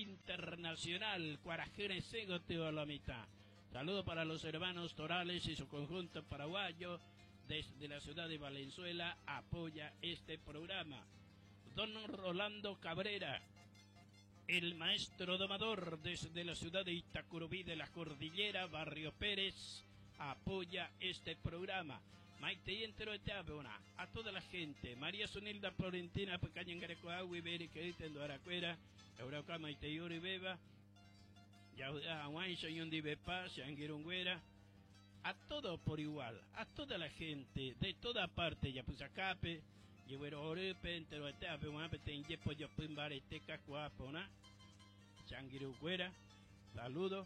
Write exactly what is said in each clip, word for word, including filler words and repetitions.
Internacional, Cuarajeres la mitad. Saludo para los hermanos Torales y su conjunto paraguayo desde la ciudad de Valenzuela, apoya este programa. Don Rolando Cabrera, el maestro domador desde la ciudad de Itacurubí de la Cordillera, Barrio Pérez, apoya este programa. Maite entero a toda la gente, María Sunilda Florentina, Pecañangarecoagui, Beri, Querita, Aracuera, Eurauca, Maite Yuri Beba, a todo por igual, a toda la gente, de toda parte, Yapusacape, Yehuero Orepe, entero Etape, Guape, Tenyepo, Yopimbareteca, Cuapona, Changuirucuera, saludo,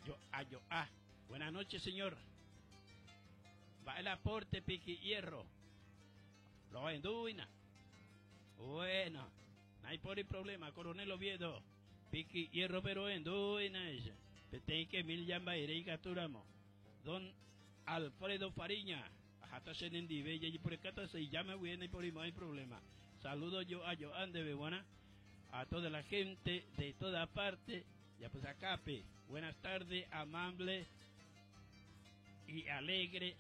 yo, a, yo, a. Buenas noches, señor. Va el aporte, piqui hierro. Lo enduina. Bueno, no hay por el problema, Coronel Oviedo. Piqui hierro, pero enduina ella. que mil llamba y capturamos. Don Alfredo Fariña. Hasta se bella y por acá se llama bien y por ahí no hay problema. Saludo yo a Joan de Bebuana, a toda la gente de toda parte. Ya pues acape. Buenas tardes, amable y alegre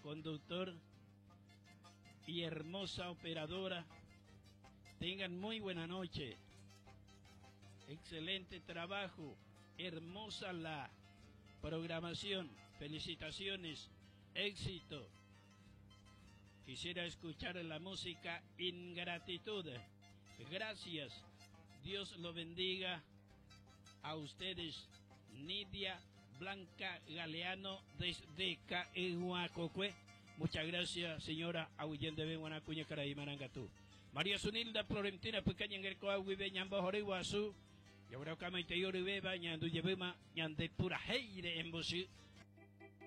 conductor y hermosa operadora. Tengan muy buena noche. Excelente trabajo. Hermosa la programación. Felicitaciones. Éxito. Quisiera escuchar la música Ingratitud. Gracias. Dios lo bendiga a ustedes. Nidia Blanca Galeano desde Caehuacocue. Muchas gracias, señora Ahuyende de Buenacuña Caraí Marangatú. María Sunilda Florentina Pecaña Engercoagui Beñambo Joreguazú. Yabraucama y Teyori Beba, Ñandu Yebema, Ñande Pura Heire en Bosí.